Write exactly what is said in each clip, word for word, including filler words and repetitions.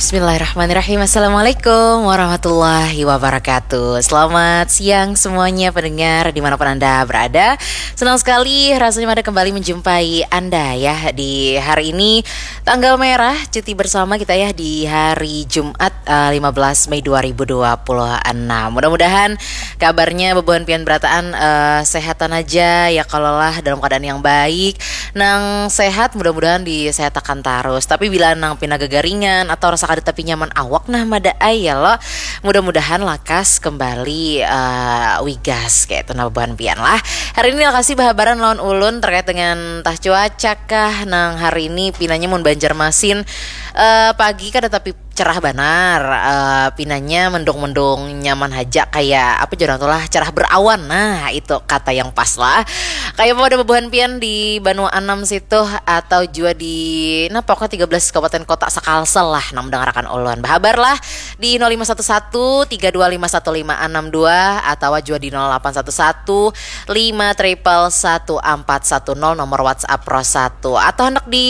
Bismillahirrahmanirrahim. Assalamualaikum warahmatullahi wabarakatuh. Selamat siang semuanya pendengar dimanapun Anda berada. Senang sekali rasanya Mada kembali menjumpai Anda ya di hari ini, tanggal merah, cuti bersama kita ya di hari Jumat, eh, lima belas Mei dua ribu dua puluh enam. Mudah-mudahan kabarnya bebuhan pian berataan, eh, sehatan aja ya, kalau lah dalam keadaan yang baik. Nang sehat mudah-mudahan disehatakan tarus. Tapi bila nang pina gagaringan atau rasa kada tapi nyaman awak, nah, Mada ai ya lo, mudah-mudahan lakas kembali, eh, wigas kayak itu, nah, bebuhan pian lah. Hari ini lakasi bahabaran lawan ulun terkait dengan tah cuaca kah, nang hari ini pinanya mun Banjarmasin, eh, pagi kada tapi cerah banar, eh, pinanya mendung-mendung nyaman haja, kayak apa jurang tuh lah, cerah berawan. Nah, itu kata yang pas lah. Kayak apa ada bebuhan pian di Banua Anam situ atau jua di, nah, pokoknya tiga belas kabupaten kota sakalsel lah nang mendengarakan ulun. Bahabar lah di nol lima satu satu tiga dua lima satu lima enam dua atau jua di nol delapan satu satu lima triple satu empat satu nol, nomor WhatsApp Pro satu. Atau hendak di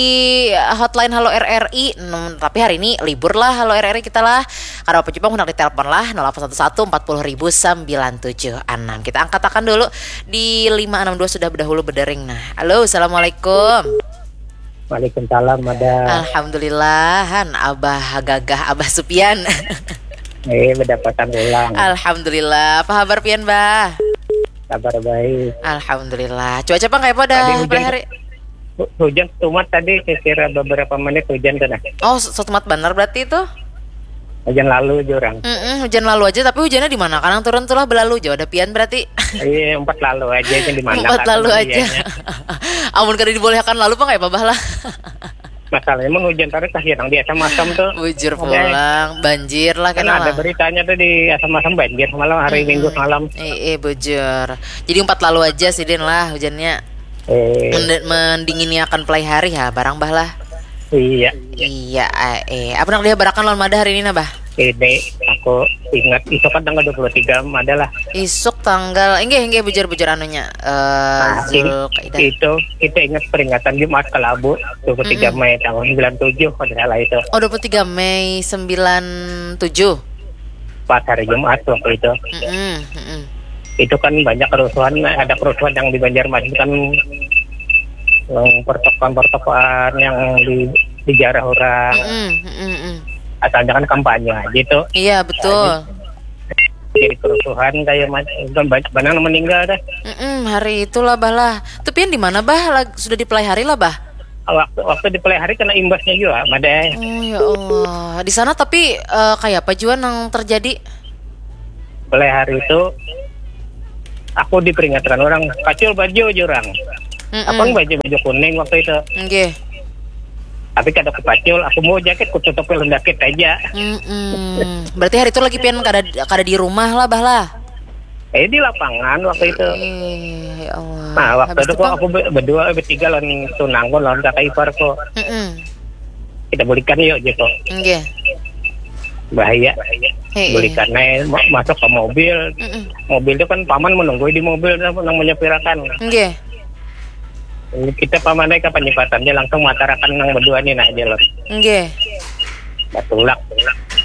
hotline Halo R R I, nem, tapi hari ini libur lah Halo R R I kita lah. Kada apa-apa juga hendak ditelepon lah, nol delapan satu satu empat puluh ribu sembilan tujuh enam. Kita angkatakan dulu di lima enam dua sudah berdahulu berdering. Nah, halo, assalamualaikum. Waalaikumsalam, Mada. Alhamdulillah, han, Abah Gagah, Abah Supian. Eh, berdapatan ulang. Alhamdulillah. Apa kabar pian, Bah? Kabar baik. Alhamdulillah. Cuaca pang kayak apa dah Tadi hujan, pada hari? Hu- Hujan setumat tadi, kira-kira beberapa menit hujan tuh, nah. Oh, se- setumat benar berarti itu? Hujan lalu aja orang. Mm-mm, hujan lalu aja, tapi hujannya di mana? Kadang turun tuh lah belalu jauh ada pian berarti. Iya, empat lalu aja, yang di mana Empat kadang lalu aja. Hujannya. Amun kada dibolehkan lalu pang kayak apa, Bah lah? Masalahnya mun hujan tadi tah yang di asam-asam tuh. Bujur Oke. Pulang, banjir lah. Karena kena ada lah. Beritanya tuh di asam-asam banjir malam hari Mm-mm. Minggu malam. Eh, eh, bujur. Jadi empat lalu aja sih, Din, lah, hujannya. Eh. Mend- mendingini akan pelai hari ya, barang, Bah lah. Iya. Iya, eh, eh. Apa nak dihabarakan lawan Mada hari ini, nah, Bah? Ini aku ingat itu kan tanggal dua puluh tiga Mada lah. Isuk tanggal, inggih, inggih, bujur, bujur anunya. Eh, Nah, in- Zulkaidah. Itu kita ingat peringatan Jumat Kelabu dua puluh tiga Mm-mm. Mei tahun sembilan tujuh kalau tidak salah itu. Oh, dua puluh tiga Mei sembilan tujuh. Pas hari Jumat waktu itu. Mm-mm, mm-mm. Itu kan banyak kerusuhan, ada kerusuhan yang di Banjarmasin kan, yang pertokoan-pertokoan yang di, dijarah orang. Mm-mm, mm-mm, mm. Asalnya kan kampanye aja tuh. Iya, betul. Jadi, jadi kerusuhan kayak macam banyak banang meninggal dah. Mm-mm, hari itulah, Bah lah. Tuh pian di mana, Bah? Lag- sudah di pelai hari lah, Bah? Waktu waktu di pelai hari kena imbasnya juga, Mada. Oh, ya Allah. Di sana tapi, eh, kayak apa jua nang terjadi? Pelai hari itu aku diperingatkan orang, "Kacul baju aja orang." Mm-mm. Apa baju baju kuning waktu itu? Nggih. Tapi kada kupacul, aku mau jaket kututupi lawan jaket aja. Mm-mm. Berarti hari itu lagi pian kada kada di rumah lah, Bah lah. Eh, di lapangan waktu itu. Eh, ya Allah. Nah, waktu Habis itu itu kok pang? Aku be- berdua, eh, bertiga lawan tunangku, lawan kakak iparku. Mm-mm. Kita bulikan yuk, gitu. Nggih. Bahaya. Heeh. Bulikan aja, ma- masuk ke mobil. Mm-mm. Mobil itu kan paman menunggu di mobil, nang menyepirakan. Nggih. Kita paman naik ke penyipatan, dia langsung matarakan nang berdua nih, nah, jalan. Nggih. Batulak.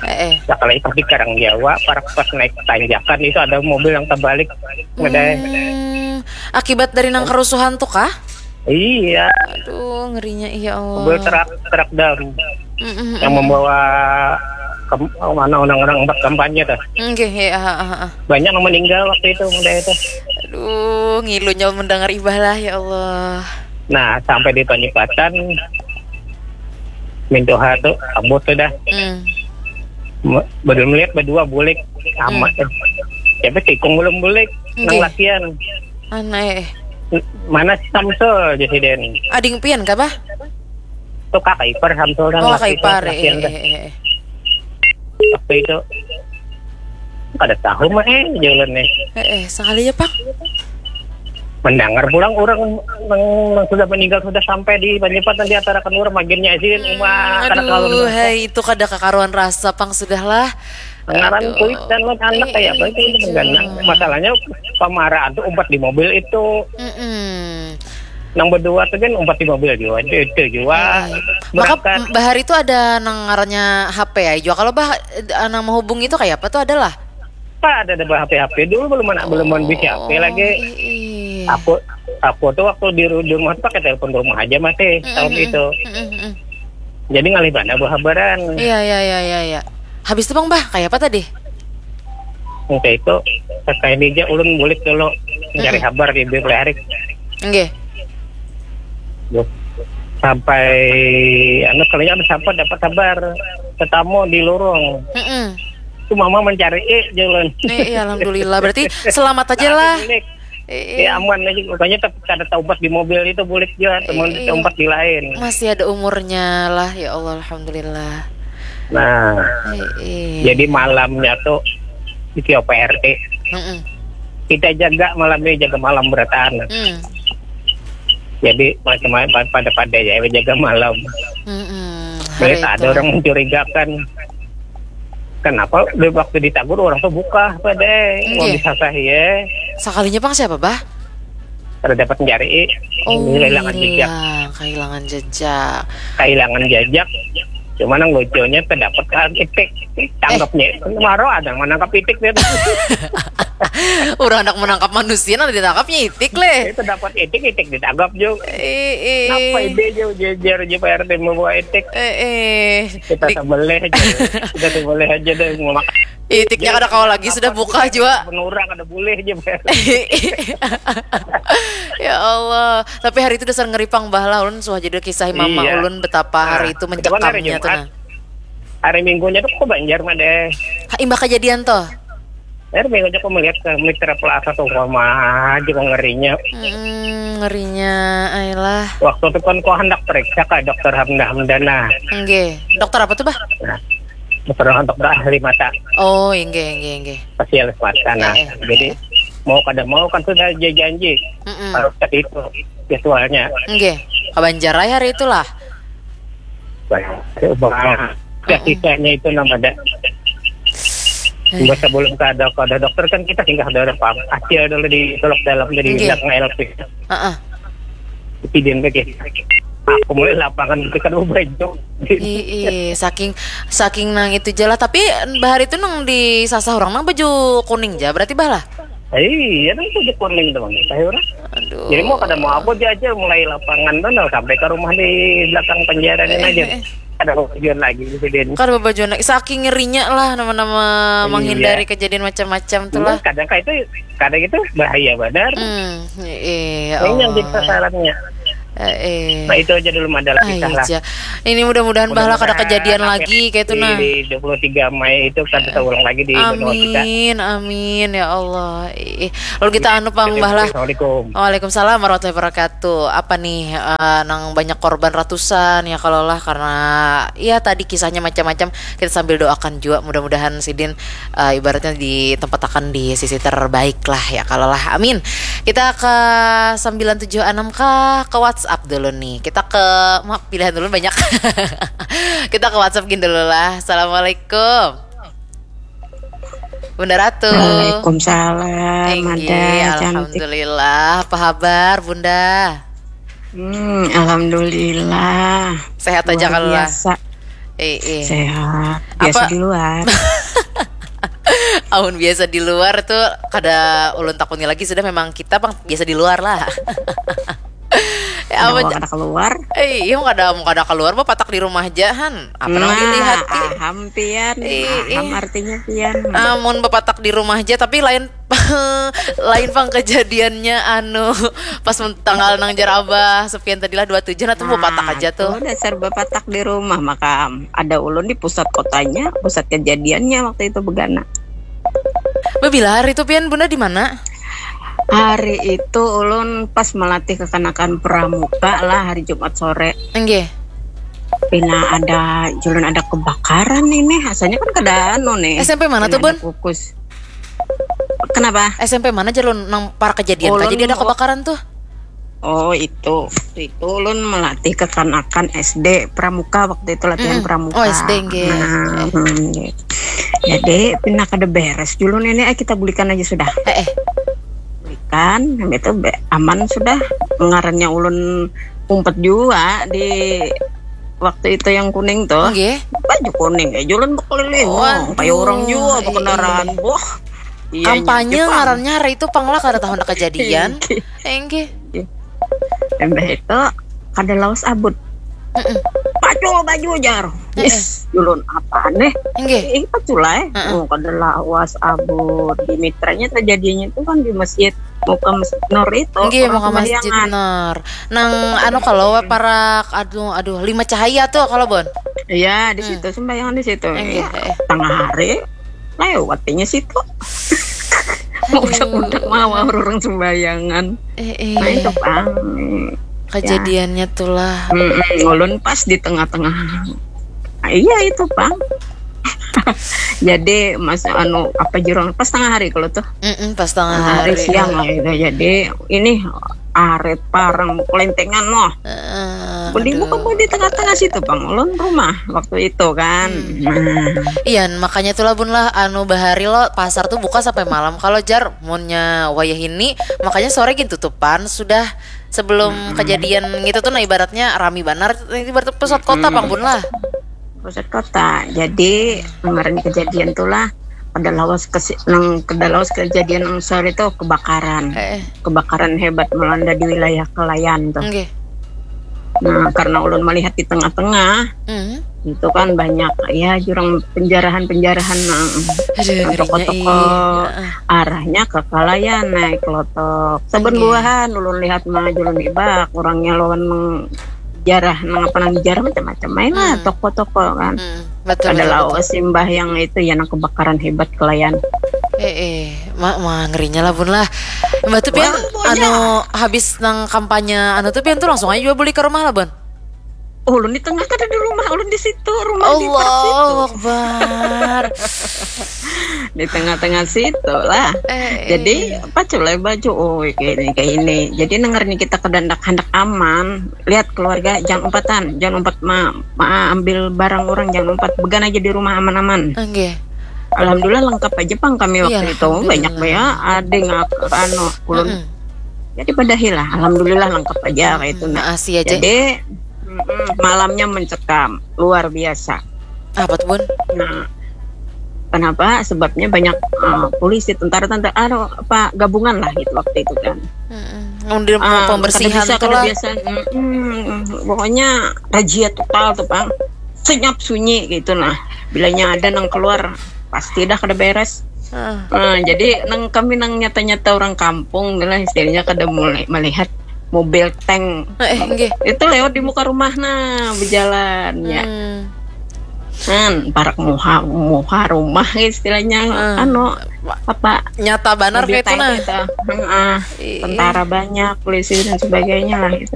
Heeh. Sekali pas di Karang Jawa, parak pas naik tanjakan itu ada mobil yang terbalik. Ngeday. Hmm, akibat dari nang kerusuhan tuh kah? Iya. Aduh, ngerinya, ya Allah. Mobil truk, truk dam Mm-mm, yang mm-mm. Membawa ke mana orang-orang empat kampanye tuh. Nggih, ya, ah, ah, ah. Banyak yang meninggal waktu itu, udah itu. Aduh, ngilu nyawa mendengar ibah lah, ya Allah. Nah, sampai di Tonyipatan, Mintuha tuh, abut tuh dah. Hmm. Me- Belum lihat berdua bulik, amat Hmm. Tuh. Siapa tikung belum bulik, nang Nggih. Latihan. Anak, eh. Mana si Samsul, Jasiden? Ading pian kah, Bah? Tuh kakak ipar Samsul, nang Oh, kakak laki-, ipar, eh, latihan eh, tuh. Eh, eh. Waktu itu kada tahu mah, eh, jalan nih. Eh, eh, sekali ya, Pak. Mendengar pulang orang nang, nang sudah meninggal sudah sampai di Banjarpatan di antara kan orang maginnya sih Hmm, rumah kada aduh, kawan. Hai, itu kada kakaruan rasa pang sudahlah. Ngaran Aduh. Kulit dan anak kayak apa itu, itu Iya, mengganang. Iya. Masalahnya pamaraan tuh umpat di mobil itu. Mm-mm. Nang berdua tu kan umpat di mobil jua, itu, itu jua. Maka bahari tu ada nang ngarannya H P ya jua. Kalau bah nang menghubungi itu kayak apa tuh, adalah? Pak, ada ada H P H P dulu, belum ada belum ada H P lagi. Aku aku tuh waktu di, ru- di rumah tuh pakai telepon rumah aja masih tahun itu. Jadi ngalih mana buah habaran. Iya, iya, iya, iya, iya. Habis itu bang bah kayak apa tadi? Oke itu, kayak ini aja ulun bulik dulu mencari habar di Bibir Leharik. Nggih. Sampai anu, kalinya ada siapa dapat habar tetamu di lorong. Mm-mm. Itu mama mencari eh jalan. Eh, iya, alhamdulillah. Berarti selamat aja lah. Bulik. Eh, Ya aman aja, makanya tetap ada taubat di mobil itu, bulik juga teman Iya. Taubat di lain. Masih ada umurnya lah, ya Allah, alhamdulillah. Nah, Eh, eh. Jadi malamnya tuh di Tio P R T Mm-mm. kita jaga malamnya, jaga malam berataan. Hmm. Jadi macam-macam pada-pada ya jaga malam. Mm-mm. Jadi Hari tak ada itu. Orang mencurigakan. Kenapa di waktu ditagur orang tuh buka pada Nggih. Disasah ya. Sekalinya bang siapa bah? Ada dapat mencari Oh, kehilangan jejak. Hilang, kehilangan jejak. Kehilangan jejak. Cuma yang lucunya terdapat kan itik. Tanggapnya. Maro ada yang menangkap itik dia. Orang hendak menangkap manusia, nanti ditangkapnya itik leh. Itu dapat itik, itik ditangkap juga. Eh, eh. Kenapa ide jauh jejer aja Pak R T membawa itik? Eh, eh. Kita Di- sembelih aja. Kita sembelih aja deh mau makan. Itiknya kada kawa lagi, sudah buka juga. Menurang ada boleh aja Pak. Ya Allah. Tapi hari itu dasar ngeri pang bah lah. Ulun suah jadi kisah mama Iya. ulun betapa hari itu Nah, kebetulan hari mencekamnya tuh Jumat. Nah. Hari Minggunya tuh ke Banjar mah deh. Ha, imbah kejadian tuh. Hari Minggunya aku melihat ke mitra pelasa tuh sama aja kok ngerinya. Hmm, ngerinya, ayolah. Waktu itu kan kau hendak periksa ke dokter Hamda Hamdana. Nggih. Dokter apa tuh bah? Nah, dokter dokter ahli mata, Oh, nggih, nggih, nggih. spesialis mata. Nah, Eh, eh. Jadi mau kada mau kan sudah dia janji Mm-mm. Kalau tadi itu jadwalnya. Nggih. Ke Banjar aja hari itulah. Banyak. Banyak. Ya, sisanya itu nama ada. Eh. Sebelum kada kada dokter kan kita singgah dulu pam. Acil dulu di Solok Dalam, jadi Nggih. Belakang L P. Heeh. Sidin lagi. Aku mulai lapangan itu kan baju. Ih, ih, saking saking nang itu aja lah. Tapi bahari itu nang disasah orang nang baju kuning aja berarti bah lah. Iya, kan itu kuning tuh bang. Saya orang. Aduh. Jadi mau kada mau aku aja aja mulai lapangan tuh nah, sampai ke rumah di belakang penjara ini Eh, aja. eh. Ada tujuan lagi di sini. Kada babajuan lagi. Saking ngerinya lah nama-nama Iya. Menghindari kejadian macam-macam tuh lah. Kadang kayak itu, kadang itu bahaya benar. Hmm, iya. Ini yang Allah. jadi sasarannya. Eh, eh. Nah itu aja dulu madalah Ah, kita iya lah. aja. Ini mudah-mudahan bahala kada Mudah-mudahan kejadian apa lagi kayak itu di, nah. Di dua puluh tiga Mei itu kada terulang lagi di benua kita. Amin, amin ya Allah. Ih, lalu kita anu pang Oke, bahala. Assalamualaikum. Waalaikumsalam warahmatullahi wabarakatuh. Apa nih eh, nang banyak korban ratusan ya kalau lah karena ya tadi kisahnya macam-macam. Kita sambil doakan juga mudah-mudahan sidin eh, ibaratnya ditempatakan di sisi terbaik lah ya kalau lah. Amin. Kita ke sembilan tujuh enam kah ke WhatsApp dulu nih. Kita ke maaf pilihan dulu banyak. Kita ke WhatsApp gini dulu lah. Assalamualaikum. Bunda Ratu. Waalaikumsalam. Inggih, Ada cantik. Alhamdulillah. Apa kabar, Bunda? Hmm, alhamdulillah. Sehat aja Luar kalau lah. Biasa. Eh, eh. Sehat. Biasa Apa- di luar. Amun biasa di luar tuh kada ulun takuni lagi sudah memang kita pang biasa di luar lah. Ya, Ada apa uang ja- ada keluar. Eh, iya kada mau kada keluar bapatak di rumah aja han. Apa nang Nah, dilihat ki? Aham pian. Ih, Aham ih. Artinya pian. Amun bapatak di rumah aja tapi lain lain pang kejadiannya anu pas men- tanggal nang jar abah Sofian tadi lah dua tujuh nah tuh bapatak Nah, aja tuh. Dasar bapatak di rumah maka ada ulun di pusat kotanya, pusat kejadiannya waktu itu begana. Babila hari itu pian bunda di mana? Hari itu ulun pas melatih kekanakan pramuka lah hari Jumat sore. Enggih. Pina ada julun ada kebakaran ini, asalnya kan kada anu nih. S M P mana Pina tuh, Bun? Ada kukus. Kenapa? S M P mana jalun nang para kejadian Ulun kah jadi ada mau- kebakaran tuh? Oh itu, itu ulun melatih kekanakan S D pramuka waktu itu latihan Mm-mm. pramuka. Oh, S D, nggih. Nah, hmm, nggih. Jadi pina kada beres julun ini, eh, kita bulikan aja sudah. Eh, eh. Bulikan. kan, itu be- aman sudah. Ngarannya ulun umpet juga di waktu itu yang kuning tuh. Nggih. Baju kuning aja ulun bekeliling. Waduh, Kayak orang juga iya, berkendaraan. Wah. Iya, Kampanye Jepang. Ngarannya hari itu pang lah kada tahu nak kejadian. Enggih. Imbah itu kada lawas abut. Baju, baju, jar. Yes, ulun apa nih? Enggih. Ih, pacul lah eh. Heeh. Oh, kada lawas abut. Di mitranya terjadinya itu kan di masjid, muka masjid Nur itu. Enggih, Orang muka masjid sembayangan. Nur. Nang anu kalau parak aduh aduh lima cahaya tuh kalau Bon. Iya, di situ sembayangan di situ. Enggih, Iya. eh. Tengah hari lewatnya situ. Mau udah-udah mau orang sembayangan. Eh, eh. Nah, itu pang. Kejadiannya tuh lah. Mm-mm, ulun pas di tengah-tengah. Ah, iya itu pang. Jadi mas anu apa jurang pas tengah hari kalau tuh Mm-mm, pas tengah hari hari. siang lah itu. Jadi ini arit parang kelentengan loh. Heeh, Beli aduh. Bukan di tengah-tengah situ pang ulun rumah waktu itu kan. Nah, Iya, makanya tuh lah Bun lah anu bahari lo pasar tuh buka sampai malam kalau jar munnya wayah ini makanya sore gin tutupan sudah sebelum kejadian gitu tuh nah ibaratnya rami banar ibarat pusat kota pang Bun lah. Pusat kota. Jadi kemarin kejadian tuh lah kada lawas ke nang kada lawas kejadian nang sore itu kebakaran. Eh, Kebakaran hebat melanda di wilayah Kelayan tuh. Enggih. Nah, karena ulun melihat di tengah-tengah Hmm. itu kan banyak ya jurang penjarahan-penjarahan nah, Aduh, toko-toko ngerinya, iya. Arahnya ke Kalayan naik lotok. Saben Iya. Buahan ulun lihat mah julun ibak orangnya lawan jarah nang apa nang jarah macam-macam main lah Hmm. Toko-toko kan. Hmm, betul, Ada betul, lawas betul. Simbah yang itu ya nang kebakaran hebat Kalayan. Eh, eh, ma, ma ngerinya lah Bun lah. Mbak tuh pian Wah, anu habis nang kampanye anu tuh pian tuh langsung aja juga beli ke rumah lah Bun. Ulun di tengah kada di rumah, ulun di situ, rumah di parak situ. Allahu Akbar. Di tengah-tengah situ lah. Eh, Jadi paculai baju, oh kayak ini kayak ini. Jadi dengar nih kita kada handak handak aman. Lihat keluarga jangan umpatan, jangan umpat ma, ma- ambil barang orang, jangan umpat began aja di rumah aman-aman. Enggih. Alhamdulillah lengkap aja pang kami Iya, waktu itu alhamdulillah. banyak banyak ada yang anu ulun. Mm-mm. Jadi padahilah, alhamdulillah lengkap aja kayak itu nah. Maasi aja. Jadi mm-mm, malamnya mencekam luar biasa. Apa tuh Bun? Nah, kenapa? Sebabnya banyak uh, polisi, tentara, tentara, anu, apa gabungan lah gitu waktu itu kan. Mm-mm. Ngundir Ah, pembersihan kada bisa, tuh kada lah. Biasa. Mm-mm. Pokoknya razia total tuh, Bang. Senyap sunyi gitu nah. Bilanya ada nang keluar, pasti dah kada beres. Ah. Nah, jadi nang kami nang nyata-nyata orang kampung lah istilahnya kada mulai melihat mobil tank Eh, enggih. itu lewat di muka rumah nah berjalan ya. Hmm. Kan parak muha muha rumah istilahnya Hmm. anu apa Nyata banar mobil kayak itu tank nah. Itu. Heeh. Iya. Tentara banyak, polisi dan sebagainya lah gitu.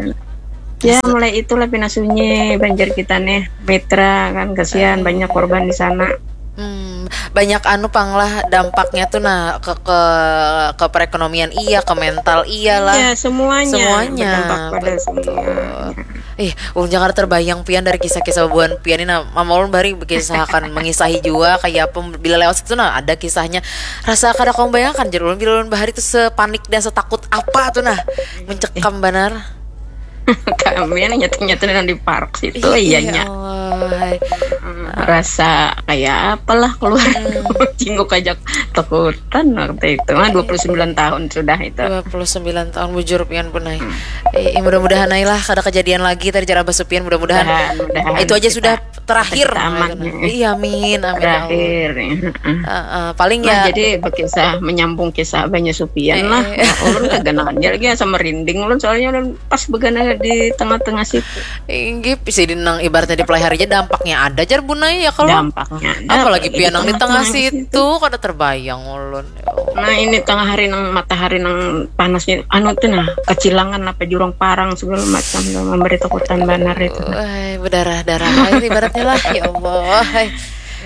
Ya mulai itulah pindah sunyi banjir kita nih mitra kan kasihan banyak korban di sana. Hmm, banyak anu pang lah dampaknya tuh nah ke ke ke perekonomian iya, ke mental iya lah. Ya semuanya, Semuanya, berdampak pada betul. Semuanya. Ih, ulun jangan terbayang pian dari kisah-kisah buan pian ini nah, mama ulun bari berkisah akan mengisahi juga kayak apa bila lewat situ nah ada kisahnya rasa kada kau bayangkan jadi ulun bila ulun bahari itu sepanik dan setakut apa tuh nah mencekam banar. Kami yang nyata-nyata di park situ Ih, iyanya. Ya Allah. Hmm, rasa kayak apalah keluar jinguk aja takutan waktu itu. Ah, dua puluh sembilan tahun sudah itu. Dua puluh sembilan tahun bujur pian punai. Eh, mudah-mudahan ai lah kada kejadian lagi tadi jar Abah Supian mudah-mudahan Mudahan, mudahan itu aja kita sudah terakhir. kita aman. Iya amin amin. Ya Allah. Terakhir. Heeh. Heeh, paling Nah, ya jadi berkisah menyambung kisah banyak supian Eh, lah. eh. Nah, ulun kaganaannya lagi sama merinding ulun soalnya ulun pas begana di tengah-tengah situ. Inggih, bisa di nang ibaratnya di pelai hari aja dampaknya ada jar bunai ya kalau Dampaknya ada, apalagi pian nang di tengah tengah-tengah situ kada terbayang ulun. Ya Allah. Nah ini tengah hari nang matahari nang panasnya anu tuh nah kecilangan apa jurang parang segala macam tuh memberi takutan banar itu. Wah, berdarah-darah air ibaratnya lah ya Allah. Hai.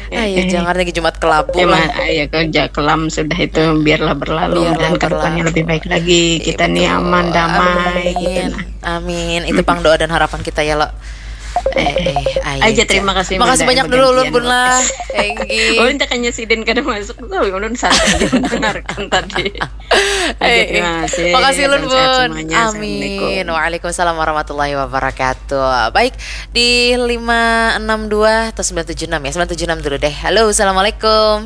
Ayo jangan lagi Jumat kelabu Ya, lah. ma- ya kerja kelam sudah itu biarlah berlalu Biarlah dan kedepannya berlalu. lebih baik lagi kita nih aman damai gitu Amin. nah. Amin. Itu pang doa dan harapan kita ya lo. Eh, eh, aja, terima kasih, makasih banyak dulu ulun, Bun lah. Ulun takanya sidin kada masuk tuh, ulun santai aja mendengarkan tadi. Aja, terima kasih. Makasih ulun, Bun. Amin. Waalaikumsalam warahmatullahi wabarakatuh. Baik, di lima enam dua atau sembilan tujuh enam ya, sembilan tujuh enam dulu deh. Halo, assalamualaikum.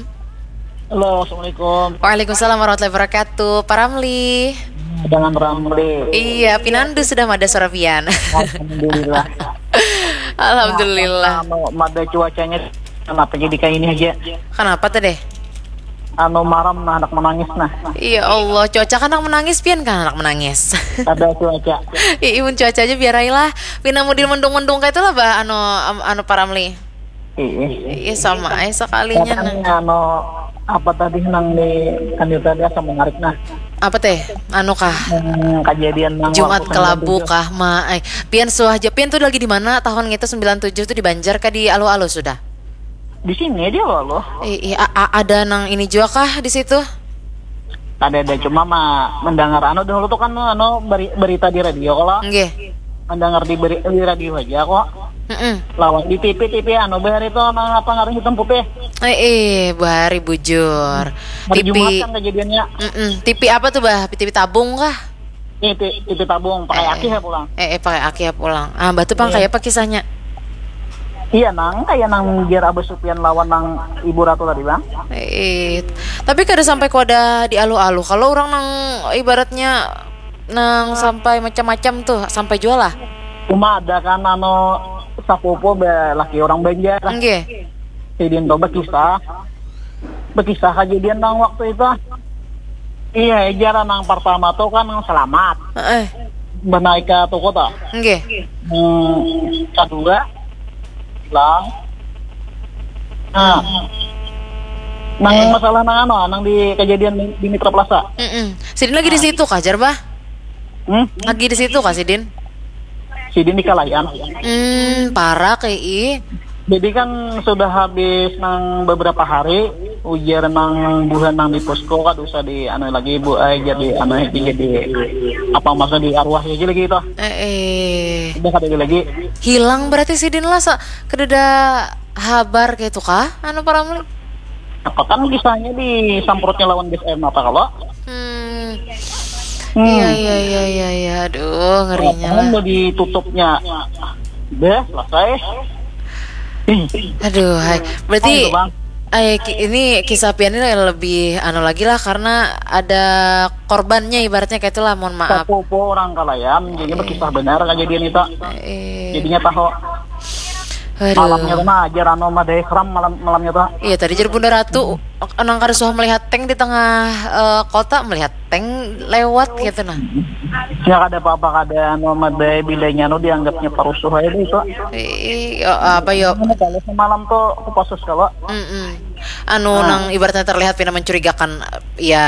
Halo, assalamualaikum. Waalaikumsalam warahmatullahi wabarakatuh. Pak Ramli. Dengan Ramli. Iya, pinandu sudah mada suara pian. Alhamdulillah. Alhamdulillah. Nah, anu, mada cuacanya kenapa jadi kayak ini aja? Kenapa tuh deh? Anu, maram nah, anak menangis nah. Iya Allah, cuaca kan anak menangis, pian kan anak menangis. Ada cuaca. Iya, mun cuaca aja biar aja lah. Pina mudil mendung-mendung kayak itulah, bah, anu, anu Pak Ramli. Iya, sama aja sekalinya nah. Anu, apa tadi nang di, kan itu tadi asam menarik nah. Apa teh? Anu kah? Hmm, kejadian nang Jumat Kelabu kah, ma? Eh, pian suah aja. Pian tuh lagi di mana? Tahun ngitu sembilan tujuh tuh di Banjar kah, di alu-alu sudah? Di sini aja loh. Iya, ada nang ini juga kah di situ? Ada, ada, cuma mah mendengar anu dahulu tuh kan, anu, beri-, berita di radio kalau. Nggih. Mendengar di, beri-, di radio aja kok. Mm-mm. Lawan di T V, T V anu, bahari itu nang apa ngaran hitam putih. Eh, eh, bahari bujur. Hari Jumat kan kejadiannya. Mm-mm. T V apa tuh, bah? T V tabung kah? Ini T V tabung, pakai aki ya pulang. Eh, eh, pakai aki ya pulang. Ah, batu pang kayak apa kisahnya? Iya nang, kayak nang biar Abah Supian lawan nang Ibu Ratu tadi bang. Eh, tapi kada sampai ku ada di aluh-aluh. Kalau orang nang ibaratnya nang sampai macam-macam tuh, sampai jual lah. Cuma ada kan anu sapupu be laki orang Banjar. Nggih. Sidin tuh bekisah. Bekisah kejadian nang waktu itu. Iya, ejaran nang pertama tuh kan selamat. Heeh. Benaik ke toko tuh. Nggih. Hmm, kedua hilang. Nah. Nang masalah nang anu, nang di kejadian di, di Mitra Plaza. Mm-mm. Sidin lagi di situ kah, jar, bah? Hmm? Lagi di situ kah sidin? Sidin di Kalayan. Hmm, parak, ii. Jadi kan sudah habis nang beberapa hari, ujar nang buhan nang di posko kada usah di anu lagi, Bu ai, jadi anu lagi, jadi apa maksudnya, di arwah lagi lagi itu. Eh, eh. Udah kada ada lagi. Hilang berarti sidin lah, sa-, kada ada habar kayak itu kah? Anu, Pak Ramli? Apa kan kisahnya disamprotnya lawan gas air mata kalau? Hmm. Hmm. Iya, iya, iya, iya, iya. Aduh, ngerinya lah. Mau ditutupnya. Deh, selesai. Ih. Aduh, hai. Berarti, oh, itu, Bang. Ay, ki-, ini kisah pian ini lebih anu lagi lah, karena ada korbannya, ibaratnya kayak itulah, mohon maaf. Sapupu orang Kalayan, jadi berkisah benar kejadian itu. Eh. Jadinya tahu. Aduh. Malamnya tuh mah ajar anu madai seram malam, malamnya tuh. Iya, tadi jar Bunda Ratu, nang kada suah melihat tank di tengah, eh, kota, melihat tank lewat gitu nah. Ya kada apa-apa, kada anu madai, bilanya anu dianggapnya parusuh aja deh itu. Ih, apa yo? Anu, kalau semalam tuh Kopassus kalau. Mm-mm. Anu, nang ibaratnya terlihat pina mencurigakan, ya,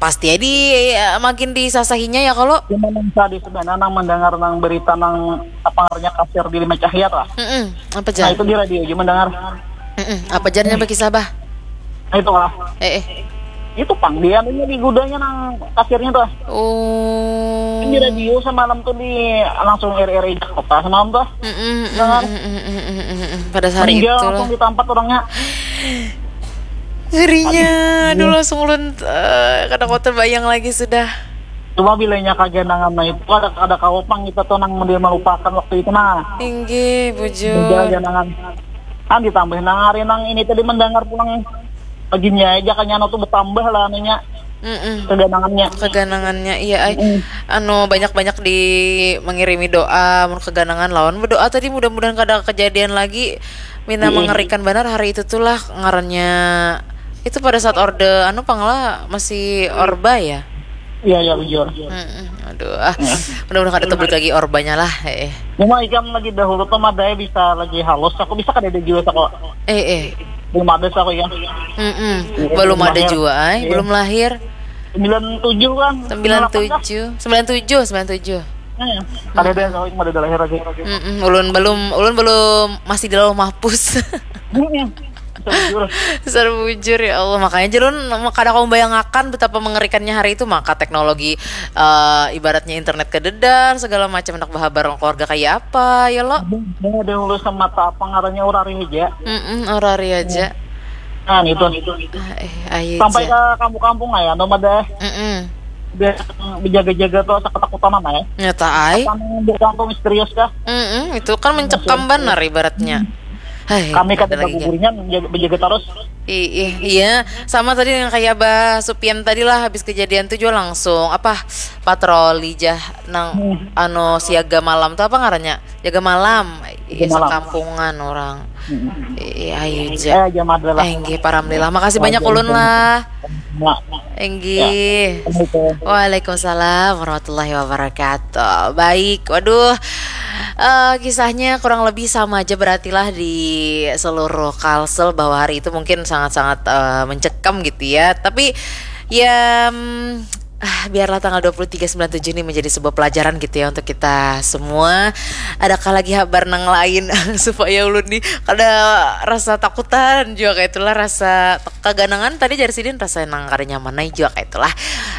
pasti ya di, ya, makin disasahinya ya kalau. Cuma nang sadih sebenarnya nang mendengar nang berita nang apa ngarannya kasir di Lima Cahaya tuh. Mm-mm. Apa jar? Nah, itu di radio aja mendengar. Mm-mm. Apa jarnya berkisah, bah? Nah, itu lah. Eh, eh. Itu pang dia anunya di gudangnya nang kasirnya tuh. Oh. Kan di radio semalam tuh di langsung R R I Jakarta semalam tuh. Mm-mm, mm-mm, mm-mm, mm-mm. Pada hari itu lah. Meninggal langsung di tempat orangnya. Ngerinya, aduh, langsung ulun, eh, kada kuat terbayang lagi sudah. Cuma bilanya kaganangan nah itu kada, kada kawa pang kita tuh nang dia melupakan waktu itu nah. Inggih, bujur. Kaganangan. Kan ditambah nang hari nang ini tadi mendengar pulang paginya aja kanya anu tuh bertambah lah anunya. Mm-mm. Keganangannya. Keganangannya, iya, ai. Mm-mm. Anu, banyak-banyak di mengirimi doa, mun keganangan lawan berdoa tadi, mudah-mudahan kada kejadian lagi. Mina mengerikan banar hari itu tuh lah, ngarannya itu pada saat orde, anu pang lah, masih orba ya? Iya, iya, bujur. Mm-mm. Aduh, ah. Mudah-mudahan kada tebut lagi orbanya lah, eh. Cuma ikam lagi dahulu tuh madai bisa lagi halus, aku bisa kada ada jua sako. Eh, eh. Belum ada sako ya. Mm-mm. Iya, belum ada jua, ay. Iya. Belum lahir. Sembilan tujuh kan? Sembilan tujuh, sembilan tujuh, sembilan tujuh. Hmm. Kada ada sako, cuma ada lahir aja. Mm-mm. Ulun belum, ulun belum, masih di lauh mahfuz. Mm-mm. Sarbujur. Sarbujur, ya Allah, makanya jalun kada kamu bayangakan betapa mengerikannya hari itu. Maka teknologi, eh, ibaratnya internet kededan segala macam, hendak bahabar keluarga kayak apa ya lo. Ada yang lulus sama tak apa ngarannya urari aja. Mm-mm, urari aja. Nah itu. Ah, eh, ayo sampai aja ke kampung-kampung lah ya, nomor deh. Mm-mm. Biar berjaga-jaga tuh asa ketakutan apa ya. Nyata ai. Kampung misterius kah? Mm-mm, itu kan mencekam benar ibaratnya. Hai, kami kada lagi bagugurian, menjaga, menjaga terus. Iya, sama tadi dengan kayak Abah Supian tadi lah, habis kejadian tuh juga langsung apa, patroli jah nang hmm. Anu siaga malam tuh apa ngarannya? Jaga malam. Iya, kampungan orang. Hmm. Iya, ayo aja. Eh, jam adalah. Eh, enggih, paramlilah. Makasih banyak ulun lah. Nah, enggih. Ya. Waalaikumsalam warahmatullahi wabarakatuh. Baik, waduh. Uh, kisahnya kurang lebih sama aja berarti lah di seluruh Kalsel, bahwa hari itu mungkin sangat-sangat uh, mencekam gitu ya. Tapi ya um, ah, biarlah tanggal dua puluh tiga sembilan tujuh ini menjadi sebuah pelajaran gitu ya untuk kita semua. Adakah lagi kabar nang lain supaya ulun nih kada rasa takutan juga kayak itulah, rasa kaganangan tadi jari sidin rasa nang kada nyaman aja juga kayak itulah.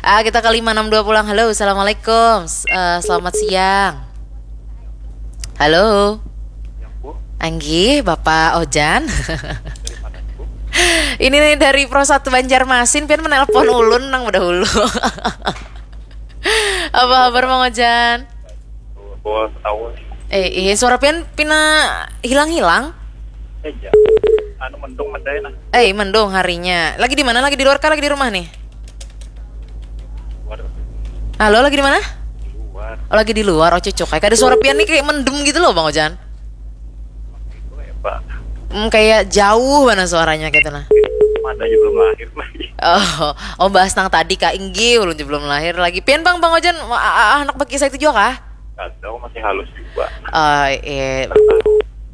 Uh, kita ke lima enam dua pulang. Halo, assalamualaikum. Uh, selamat siang. Halo. Anggih, Bapak Ojan. Ini nih dari Pro satu Banjarmasin, pian menelpon ulun nang bedahulu. Apa kabar Mang Ojan? Bos tahu. Eh, iya, suara pian pina hilang-hilang. Aja. Anu mendung medai nah. Eh, mendung harinya. Lagi di mana? Lagi di luar kah? Lagi di rumah nih? Halo, lagi di mana? Luar. Oh, lagi di luar. Oh, cocok. Kayak ada suara pian nih kayak mendem gitu loh, Bang Ojan. Itu kayak apa? Hmm, kayak jauh mana suaranya gitu nah. Mana aja belum lahir lagi. Oh, oh bahas nang tadi Kak Inggi ulun belum lahir lagi. Pian Bang, Bang Ojan anak bakisah itu juga kah? Ada, masih halus juga. Oh, iya.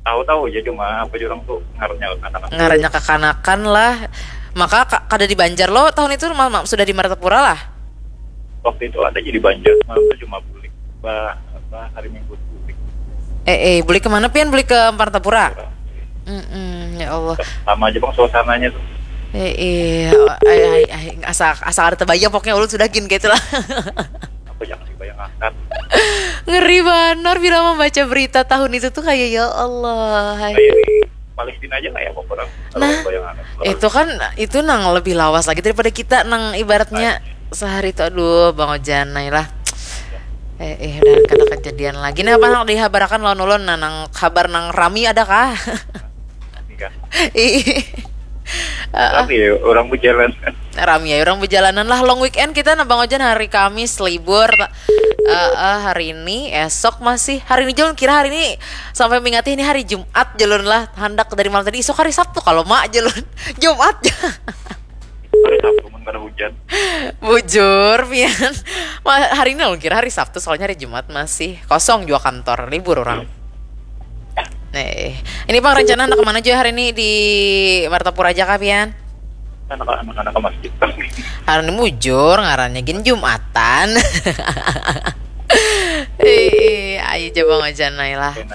Tahu-tahu aja cuma apa jurang tuh ngarannya kekanakan. Ngarannya kekanakan lah. Maka kada di Banjar lo tahun itu sudah di Martapura lah. Waktu itu ada jadi Banjar, malam itu cuma bulik. Bah, apa hari Minggu bulik. Eh, eh, bulik kemana pian? Bulik ke Martapura? Mm-mm, ya Allah. Sama aja bang suasananya tuh. Eh, eh, ay, ay, ay, asa asa ada terbayang pokoknya ulun sudah gin gitu lah. Apa jangan dibayangkan. Ngeri banar bila membaca berita tahun itu tuh kayak ya Allah. Kayak di Palestina aja kayak apa kurang. Nah, itu kan itu nang lebih lawas lagi daripada kita nang ibaratnya sehari itu aduh Bang Ojan lah. Eh, eh udah kada kejadian lagi. Nah, apa nang dihabarakan lawan ulun nah, nang kabar nang rami ada kah? Nikah. Ih. Tapi ya, orang berjalan. Rami ya orang berjalanan lah long weekend kita nah Bang Ojan hari Kamis libur uh, uh, hari ini esok masih hari ini jalun kira hari ini sampai mingati ini hari Jumat jalun lah hendak dari malam tadi esok hari Sabtu kalau mak jalun Jumat hari Sabtu mun kada hujan bujur pian hari ini jalun kira hari Sabtu soalnya hari Jumat masih kosong juga kantor libur orang Nih, ini bang rencana anak kemana aja hari ini di Martapura aja kah pian? Anak-anak ke masjid. Hari ini mujur ngarannya gin Jumatan. Eh, ayo coba ngajanai lah.